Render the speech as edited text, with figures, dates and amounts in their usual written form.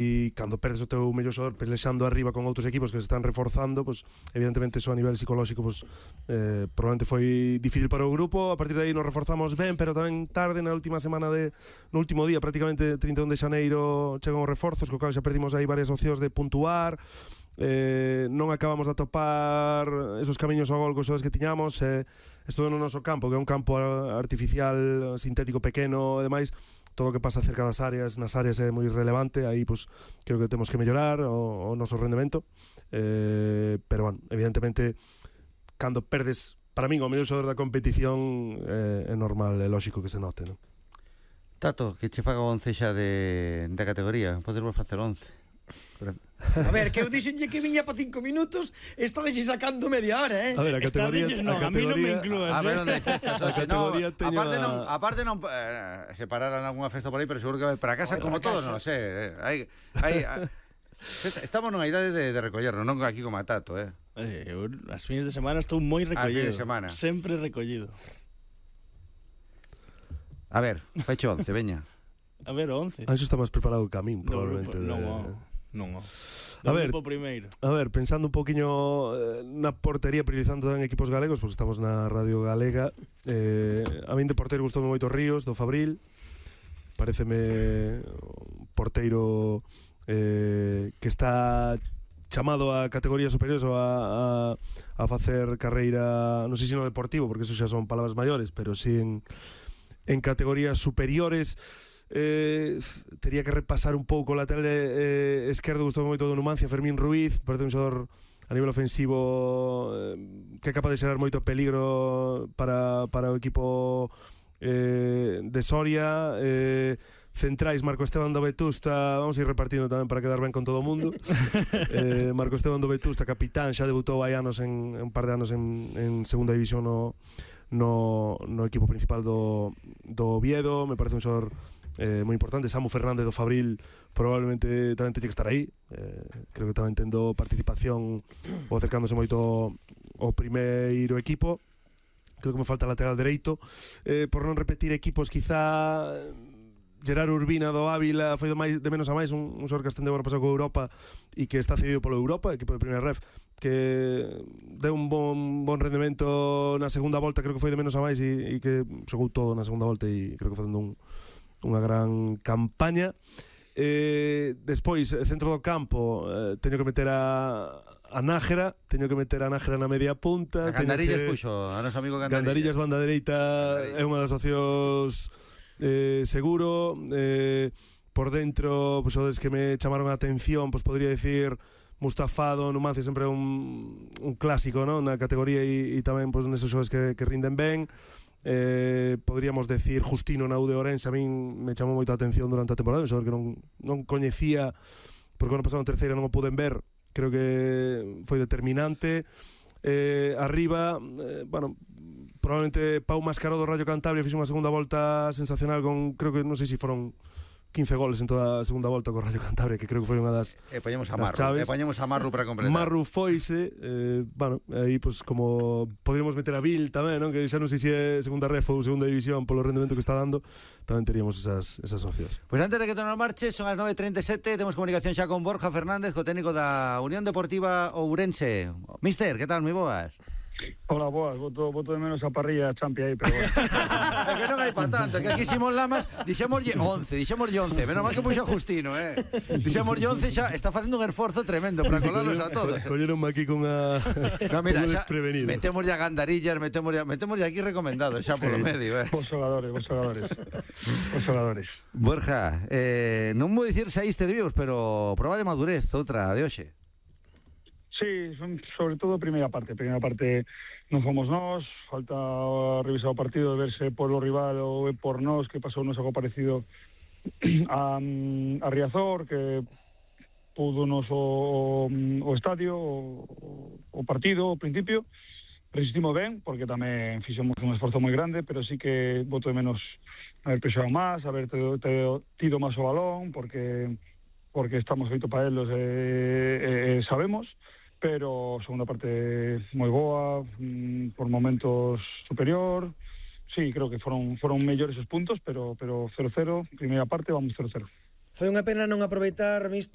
e cando perdes o teu mellor xogador pelexando arriba con outros equipos que se están reforzando, pues, evidentemente eso a nivel psicolóxico pues, probablemente foi difícil para o grupo. A partir de aí nos reforzamos ben, pero tamén tarde na última semana no último día, prácticamente 31 de xaneiro chegan os reforzos, co cal xa perdimos aí varias opcións de puntuar. Non acabamos de atopar esos camiños ao gol cos xogadores que tiñamos. Isto no noso campo, que é un campo artificial, sintético, pequeno e demais, todo o que pasa cerca das áreas, nas áreas é moi relevante. Aí pues, creo que temos que mellorar o noso rendemento, pero bueno, evidentemente cando perdes, para min o mellor xogador da competición, é normal, é lógico que se note, non? Tato, que che faga 11 xa de categoría, podemos facer 11. A ver, que eu dixenlle que viña para 5 minutos, está deixe sacando media hora, A ver, a categoría, a mí non me inclúas. A ver onde hai festas, aparte non se pararan algunha festa por aí, pero seguro que vai para casa como todos, non sei. Estamos nunha idade de recollernos, non aquí como a Tato, Eu, as fines de semana estou moi recollido. Sempre recollido. A ver, fecho 11, veña. A ver, 11. Anxo está máis preparado que a min, probablemente. Non. A ver, pensando un poquinho na portería, priorizando en equipos galegos, porque estamos na Radio Galega, a min de porteiro gustoume moito Ríos, do Fabril. Paréceme un porteiro que está chamado a categorías superiores ou a facer carreira, non sei se no deportivo, porque eso xa son palabras maiores, pero si en categorías superiores. Tería que repasar un pouco o lateral esquerdo, gustou moito do Numancia, Fermín Ruiz, parece un xogador a nivel ofensivo que é capaz de xerar moito peligro para o equipo de Soria. Centrais, Marco Esteban do Vetusta, vamos a ir repartindo tamén para quedar ben con todo o mundo. Marco Esteban do Vetusta, capitán, xa debutou hai anos un par de anos en segunda división no equipo principal do Oviedo. Me parece un xogador moi importante. Samu Fernández do Fabril probablemente tamén teñe que estar aí. Creo que tamén tendo participación ou acercándose moito ao primeiro equipo. Creo que me falta lateral dereito. Por non repetir equipos, quizá Gerard Urbina do Ávila foi de menos a máis, un xogador que ascendeu ano pasado co Europa e que está cedido polo Europa, equipo de primeira ref, que deu un bon rendemento na segunda volta. Creo que foi de menos a máis e que xogou todo na segunda volta e creo que facendo unha gran campaña. Despois, centro do campo, teño que meter a Nájera, na media punta. A Gandarillas puxo, a noso amigo Gandarillas, banda dereita, é unha das opcións seguro. Por dentro, pues, os que me chamaron a atención, pues podría decir Mustafado, Numancia, sempre un clásico, ¿no? Na categoría e tamén pues, nesos xogadores que rinden ben. Podríamos decir Justino na U de Ourense, a min me chamou moita atención durante a temporada, un xogador que non coñecía, porque ano pasado en terceira non o puden ver. Creo que foi determinante. Arriba, bueno, probablemente Pau Mascaró do Rayo Cantabria fixo unha segunda volta sensacional con, creo que non sei se foron 15 goles en toda a segunda volta co Rayo Cantabria, que creo que foi unha das poñemos a Marru para completar. Marru foise, bueno, aí pues como poderíamos meter a Vil tamén, non? Que xa non sei se é segunda ref ou segunda división polo rendemento que está dando, tamén teríamos esas opcións. Pois antes de que nos marche, son as 9:37, temos comunicación xa con Borja Fernández, co técnico da Unión Deportiva Ourense. Mister, que tal, moi boas? Hola, boas, voto de menos a parrilla champi aí, pero bueno. É que non hai pa tanto, que aquí Simón Lamas dixémoslle 11, menos mal que puxo Justino, dixémoslle 11, xa está facendo un esforzo tremendo para colarlos a todos. Colleronme aquí con a no, mira, xa metémoslle a Gandarillas, metémoslle aquí recomendado xa polo medio, Vos xogadores. Borja, non vou dicir saíste vivos, pero prova de madurez, outra de hoxe. Sí, sobre todo primeira parte non fomos nós, falta revisar o partido de verse por o rival ou por nós, que pasou nos algo parecido a Riazor, que pudo nos o estadio, o partido, o principio. Resistimos ben, porque tamén fixemos un esforzo moi grande, pero sí que voto de menos haber pexado máis, haber tido máis o balón, porque estamos feito para elos sabemos. Pero segunda parte moi boa, por momentos superior. Sí, creo que foron mellores os puntos, pero 0-0, primeira parte vamos 0-0. Foi unha pena non aproveitar, mister,